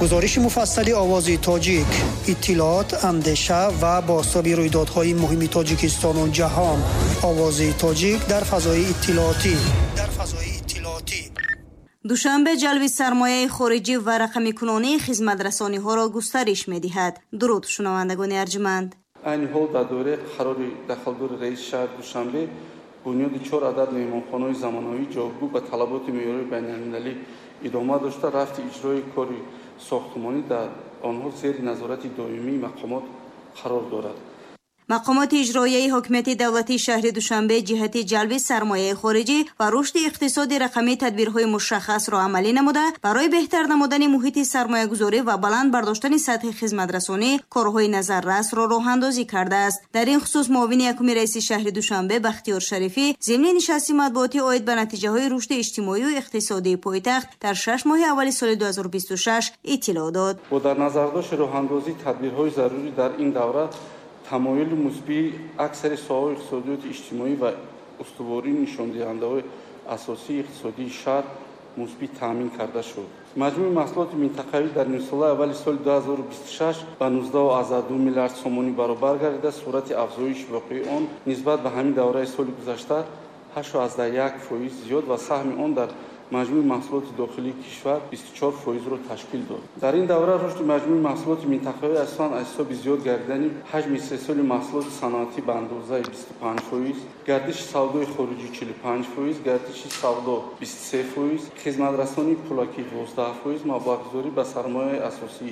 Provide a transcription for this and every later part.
Гузориши муфассали «Овози тоҷик», иттилоот, андеша ва бозтоби рӯйдодҳои муҳими Тоҷикистону ҷаҳон. «Овози тоҷик» дар фазои иттилоотӣ, дар фазои иттилоотӣ. Душанбе ҷалби сармояи хориҷӣ ва рақамикунонии хизматрасониҳоро густариш медиҳад. Дуруд, шунавандагони арҷманд. Айни ҳол дар доираи қарори дахлдори раиси шаҳри Душанбе бунёди чор адад меҳмонхонаҳои замонавӣ, ҷавобгӯ ба талаботи меъёрии байналмилалӣ идома дошта, рафти иҷрои кори сохтмонӣ дар онҳо зери назорати доимии мақомот қарор дорад. Мақомоти иҷроияи ҳокимияти давлатии шаҳри Душанбе ҷиҳати ҷалби сармояи хориҷӣ ва рушди иқтисоди рақамӣ тадбирҳои мушаххасро амалӣ намуда, барои беҳтар намудани муҳити сармоягузорӣ ва баланд бардоштани сатҳи хизматрасонӣ корҳои назаррасро роҳандозӣ кардааст. Дар ин хусус муовини якуми раиси шаҳри Душанбе Бахтиёр Шарифӣ зимни нишасти матбуотӣ оид ба натиҷаҳои рушди иҷтимоию иқтисодии пойтахт дар 6 моҳи аввали соли 2026 иттилоъ дод. Бо дар назардошти роҳандозии тадбирҳои зарурӣ дар ин давра, тамоюли мусбии аксари соҳаҳои иқтисодиёти иҷтимоӣ ва устувории нишондиҳандаҳои асосии иқтисодии шаҳр мусбӣ таъмин карда шуд. Маҷмӯи маҳсулоти минтақавӣ дар нимсолаи аввали соли 2026 ба 19,2 миллиард сомонӣ баробар гардида, суръати афзоиши воқеии он нисбат ба ҳамин давраи соли гузашта 8,1% зиёд ва саҳми он дар маҷмӯи маҳсулоти дохилии кишвар 24 фоизро ташкил дод. Дар ин давра рушди маҷмӯи маҳсулоти минтақавӣ асосан аз ҳисоби зиёд гардидани ҳаҷми истеҳсоли маҳсулоти саноатӣ ба андозаи 25%, гардиши савдои хориҷӣ 45%, гардиши савдо 23%, хизматрасонии пулакӣ 12%, маблағгузорӣ ба сармояи асосӣ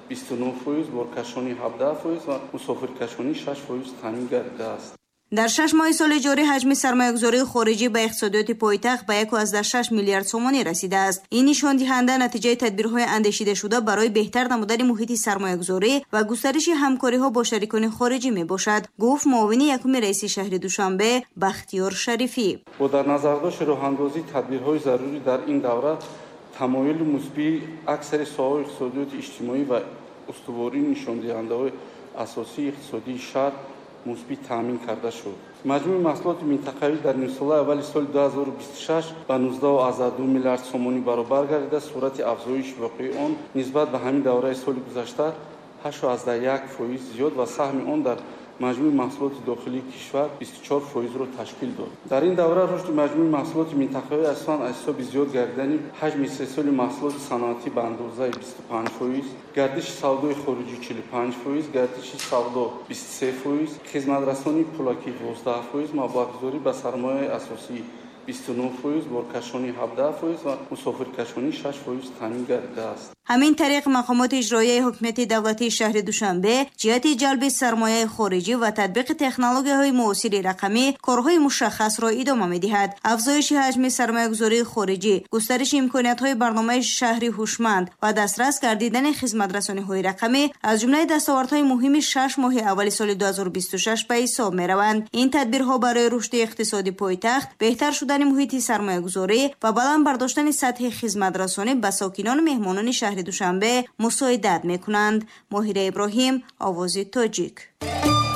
29%, боркашонӣ 17% ва мусофиркашонӣ 6% таъмин гардидааст. Дар 6 моҳи соли ҷорӣ ҳаҷми сармоягузории хориҷӣ ба иқтисодиёти пойтахт ба 1,6 миллиард сомонӣ расидааст. Ин нишондиҳанда натиҷаи тадбирҳои андешидашуда барои беҳтар намудани муҳити сармоягузорӣ ва густариши ҳамкориҳо бо шарикони хориҷӣ мебошад, гуфт муовини якуми раиси шаҳри Душанбе Бахтиёр Шарифӣ. Бо дар назардошти роҳандозии тадбирҳои зарурӣ дар ин давра, тамоюли мусбии аксари соҳаҳои иқтисодиёти иҷтимоӣ ва устувории нишондиҳандаҳои асосии иқтисодии шаҳр мусбӣ таъмин карда шуд. Маҷмӯи маҳсулоти минтақавӣ дар нимсолаи аввали соли 2026 ба 19,2 миллиард сомонӣ баробар гардида, суръати афзоиши воқеии он нисбат ба ҳамин давраи соли гузашта 8,1% зиёд ва саҳми он дар маҷмӯи маҳсулоти дохилии кишвар 24 фоизро ташкил дод. Дар ин давра рушди маҷмӯи маҳсулоти минтақавӣ асосан аз ҳисоби зиёд гардидани ҳаҷми истеҳсоли маҳсулоти саноатӣ ба андозаи 25%, гардиши савдои хориҷӣ 45%, гардиши савдо 23%, хизматрасонии пулакӣ 12%, маблағгузорӣ ба сармояи асосӣ 29%, боркашонӣ 17% ва мусофиркашонӣ 6% таъмин гардидааст. Ҳамин тариқ, мақомоти иҷроияи ҳокимияти давлатии шаҳри Душанбе ҷиҳати ҷалби сармояи хориҷӣ ва татбиқи технологияҳои муосири рақамӣ корҳои мушаххасро идома медиҳад. Афзоиши ҳаҷми сармоягузории хориҷӣ, густариши имкониятҳои барномаи шаҳри ҳушманд ва дастрас гардидани хизматрасониҳои рақамӣ аз ҷумлаи дастовардҳои муҳими 6 моҳи аввали соли 2026 ба ҳисоб мераванд. Ин тадбирҳо барои рушди иқтисоди пойтахт, беҳтар шудани муҳити сармоягузорӣ ва баланд бардоштани сатҳи хизматрасонӣ ба сокинону меҳмонони шаҳри Душанбе мусоидат мекунанд. Моҳира Иброҳим, «Овози тоҷик».